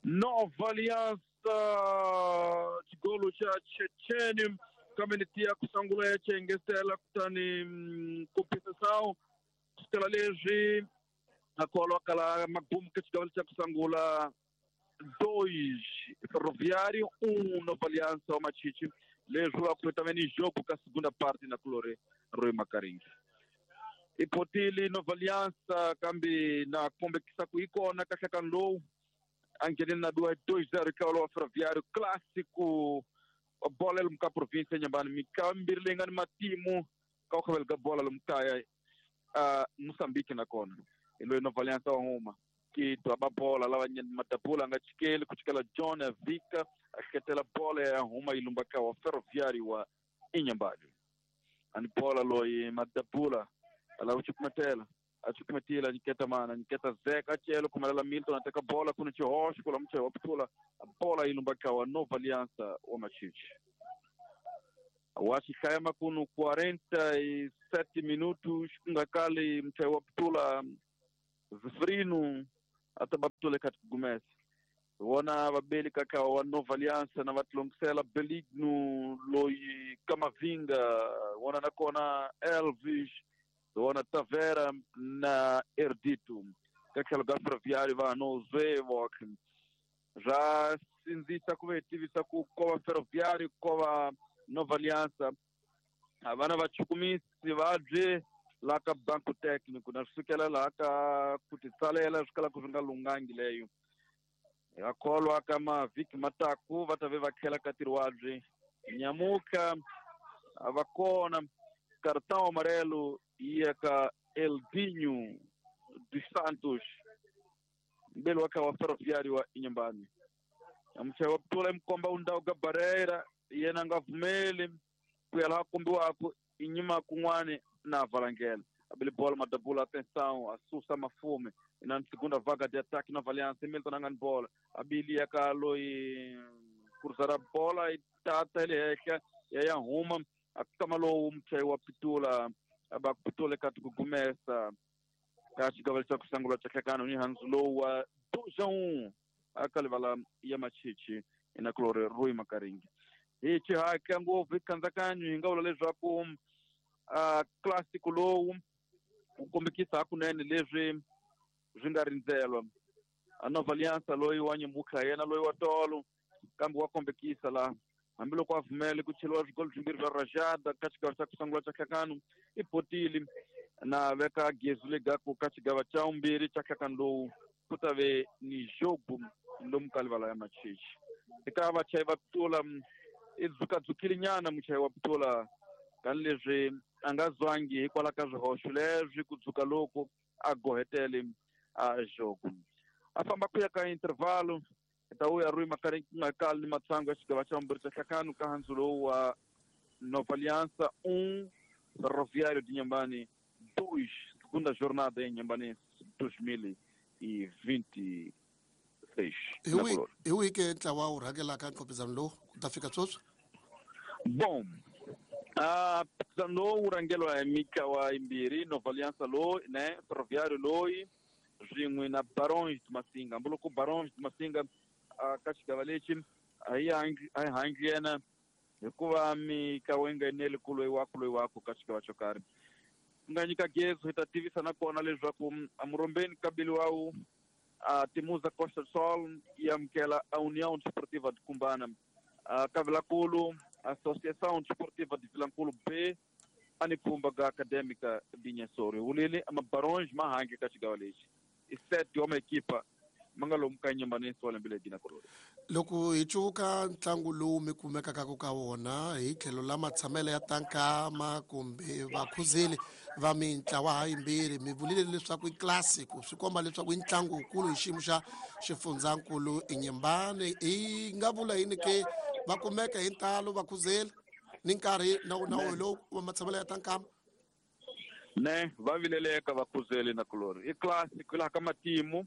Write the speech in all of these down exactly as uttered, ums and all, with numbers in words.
Nova Aliança xigolo xa Chechene kambe ni tiya ku sungula ya chengesela kutani compensação kusukela leswi a kholwa kala magumu ka xigavelo xa ku sungula dois Ferroviário um Nova Aliança wa Machichi leswi va ku também ni jogo ka segunda parte na Colore Rui Makaringi ipotile Nova Aliança kambe na kombekisa ku yi kona kahle ka lowu a ngheneni na duwa dois zero eka wa Ferroviário clássico wa bola lomu ka província Inhambane mikambirhi leyi nga ni matimu ka ku khavela ka bola lomu kaya uh, Moçambique nakona hi loyi Nova Aliança wa huma Kito a ba bola lava Madabula a nga chikeli ku chikela John Vika a hleketela bola ya huma yi lumba ka wa Ferroviário wa Inhambane ani bola loyi Madabula a lava ku cukumetela a cukumetile a nyiketa mana a nyiketa Zeka a cela khumelela Milton a teka bola ku ni xihoxo ku la muchayi wa putula bola yi lumba ka wa Nova Aliança wa Machichi wa xihlaya makunu quarenta e sete minutos ku nga kali muchayi wa putula Zefrino a ta ba putula eka tigumesa vona vabeli kaka wa Nova Aliança na va tilongisela Beligno loyi Kamavinga vona nakona Elvis vona Tavera na Erdito ka tlhelo ka Ferroviário va no Zwevok swa sindzisa ku ve tivisa ku ko va Ferroviário ko va Nova Aliança a vana va chukumisi va bye laha ka banco técnico na swi sukela laha ka ku titsalela swi kalaka swi nga lunghangi leyo hi kholwa ka mavhiki mataku va ta ve va tlhela ka ntirho wabye nyamuka a va kona cartão amarelo ya ka Eldinho dos Santos mbeli wa ka wa Ferroviário wa Inhambane muchayi wa putula i undawu ka Barreira yena a nga pfumeli ku ya laha kombiwaka i nyima kun'wani na valangela abele bola Madabula atenção a susa mafume na segunda vaga de ataque Nova Aliança Milton a nga ni bola abili ya ka loyi cruzar bola yi tata hi le henhla ya ya huma a kama lowu muchayi wa pitula aba pitula eka tikugumesa ka xigavelo xa ku sungula xa hlekano ni handzu lowu wa dois a um aka livala ya Machichi ina Colore Rui Makaringi hi xihaka ngopfu hi kandzakanyo hi nga vula leswaku uh, clássico lowu wu kombekisa hakunene leswi swi nga rindzelwa a Nova Aliança loyi wa nyemuka yena loyi wa tolo kambe wa kombekisa laha hambiloko a pfumele ku cheliwa swigolo swimbirhi swa Rajada ka xigava xa ku sungula xa hlekano i potile na veka gezu legaku ka xigava xa vumbirhi xa hlekano lowu ku ta ve ni jogo lomu ka livala ya Machichi eka vachayi va pitula i dzukadzukile nyana muchayi wa pitula tanihileswi a nga zwangi hikwalaho ka swihoxo leswi ku dzuka loko a gohetele a jogo a famba ku ya ka intervalo ta vuya Rui Makaringi ku nga kali ni matsangu ya xigava xa vumbirhi xa hlekano ka handzu lowu wa Nova Aliança um Ferroviário de Inhambane dois segunda jornada em Inhambane dois mil e vinte e seis hi wihi ke ntlawa wu rhangelaka nkhopizano lowu ku ta fika sweswi bom a mphikizano lowu wu rhangeliwa hi mitlawa yimbirhi Nova Aliança loyi ne Ferroviário loyi swin'we na Barões de Massinga hambiloko Barões de Massinga ka xigava lexi a hi a hi hangi yena hikuva mitlawa yi nga eneli ku loyi waku loyi waku ka xigava xo karhi ku nga nyika gezu hi ta tivisa nakona leswaku amurombeni kabili wawu a Timuza Costa do Sol yi amukela a União Desportiva de Cumbana a Kavilankulu Associação Desportiva de Vilankulu B a ni pfhumba ka Acadêmica de Inhassoro wulile ama Barões ma hangi ka xigava lexi i sete wa maekipa ma nga lomu ka Inhambane wa lembe leri na korona loko hi cuka ntlangu lowu mi kumekaka ka wona hi tlhelo la matshamelo ya tankama kumbe vakhuzeli va mintlawa ha yimbirhi mi vulile leswaku i clássico swi komba leswaku i ntlangu wukulu hi xiyimo xa xifundzankulu Inhambane hi nga vula yini ke va kumeka hi ntalo vakhuzeli ni nkarhi na wona lowu wa matshamelo ya tankama ne va vileleka vakhuzeli na kulori i clássico laha ka matimu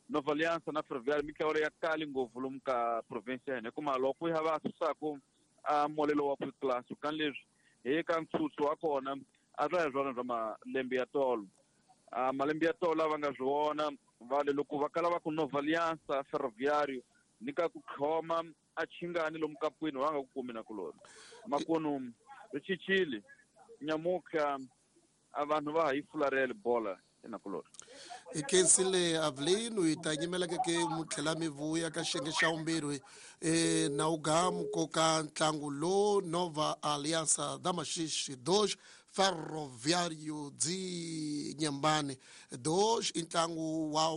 Nova Aliança na Ferroviário mitlawa ya kali ngopfu lomu ka province ya hina hikuva loko ya va susaku a molelo wa clássico kan leswi hi ka ntsutsu wa kona a swa hi swona swa malembe ya tolo a malembe ya tolo lava nga swi vona va le loko va kala va ku Nova Aliança Ferroviário Ni ka ku khoma a chingani lomu kapwini va nga ku kumi nakuloni. Makunu ri cincile nyamutlha a vanhu va ha yi fularheli bola enakuloni. Hi khensile Avelino, hi ta nyimela ke ke mu tlhela mi vuya ka xiyenge xa vumbirhi e na ugamu koka ntlangu lo Nova Aliança da Maxixe dois Ferroviário de Inhambane dois, i ntlangu wa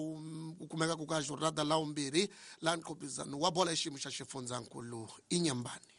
ku kumeka ku ka jornada la vumbirhi la nqopizano wa bola ya xiyimo xa xifundzankulu Inhambane.